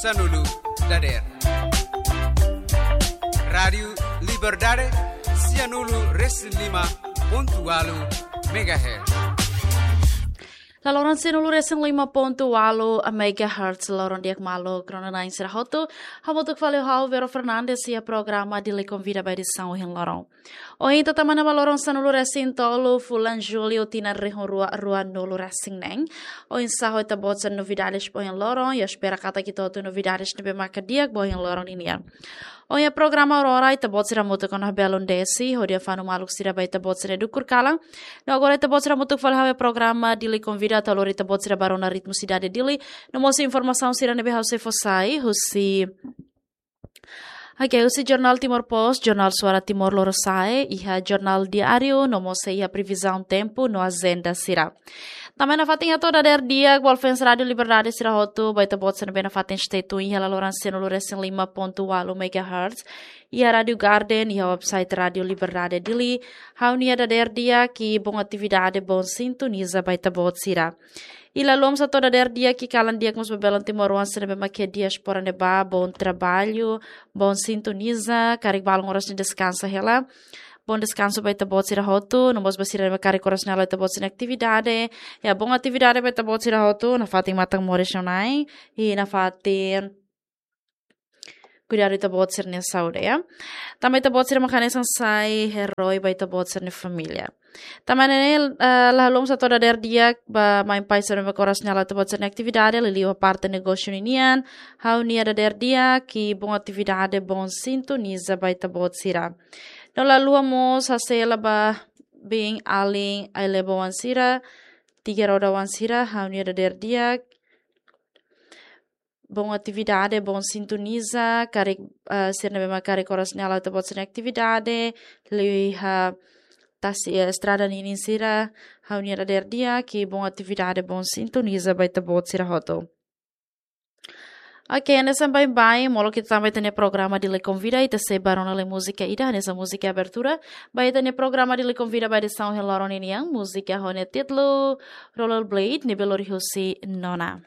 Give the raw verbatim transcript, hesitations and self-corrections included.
Sanulu dader. Rádiu Liberdade, sianulu resin lima pontu walu megahertz. Laloran sianulu resin lima pontu walu megahertz, loron di'ak malu, kronain sira hotu. Hamutuk fali ho ha'u Vero Fernandes iha programa Dili Konvida ba edisaun ohin loron. Ohin ita tama ona ba loron sanulu resin tolu fulan Jullu tinan rihun rua ruanulu resin neen. Oinsá ho ita-boot sira novidades ba ohin loron, ha'u espera katak ita hotu novidades ne'ebé maka di'ak ba ohin loron ninian. Ohin iha programa Aurora ita-boot sira hamutuk ona ho Belun Desi, hodi fanu maluk sira ba ita-boot sira dukur kalan. No agora ita-boot sira hamutuk fali ho programa Dili Konvida atu lori ita-boot sira ba rona ritmu sidade Dili. No mós informasaun sira ne'ebé ha'u sei fó sai, husi Oke, husi Jornál Timor Post, Jornál Suara Timor Lorosa'e, iha Jornál Diáriu, no mós sei iha previzaun tempu no ajenda sira. Tanba ne'e nafatin hato'o dader di'ak ba fans Rádiu Liberdade sira hotu, ba ita-boot sira ne'ebé nafatin stay tune iha laloran sianulu resin lima pontu walu megahertz, iha Rádiu Garden, iha website Rádiu Liberdade Dili, ha'u-nia dader di'ak i bom atividade, bom sintoniza ba ita-boot sira. I la haluha mós hato'o dader di'ak i kalan di'ak mós ba belun timoroan sira ne'ebé mak iha diáspora ne'ebá, bom trabalho, bom sintoniza, karik balun oras ne'e deskansa hela. Bom deskansu ba ita-boot sira hotu, no mós ba sira ne'ebé karik oras ne'e halo ita-boot sira-nia atividade. Ya, bom atividade ba ita-boot sira hotu, nafatin matan moris no nai, i nafatin kuidadu ita-boot sira-nia saúde, ya. Tanba ita-boot sira mak hanesan sai herói ba ita-boot sira-nia família. Tanba ne'e, eh, la haluha mós hato'o dader di'ak ba mãe pai sira ne'ebé mak oras ne'e halo ita-boot sira-nia atividade, liuliu parte negósiu ninian, ha'u-nia dader di'ak i bom atividade, bom sintoniza ba ita-boot sira. No la haluha mós hase'e hela ba biin-alin ai-leba oan sira, tiga roda oan sira, ha'u-nia dader di'ak, bom atividade, bom sintoniza, karik, eh, sira ne'ebé mak karik oras ne'e halo ita-boot sira-nia atividade, liuliu iha tasi, eh, estrada ninin sira, ha'u-nia dader di'ak i bom atividade, bom sintoniza ba ita-boot sira hotu. Oke, hanesan baibain, molok ita tama ba ita-nia programa Dili Konvida, ita sei ba rona lai múzika ida, hanesan múzika abertura ba ita-nia programa Dili Konvida ba edisaun ohin loron ninian, múzika ho nia títulu Rollerblade, ne'ebé lori husi Nona.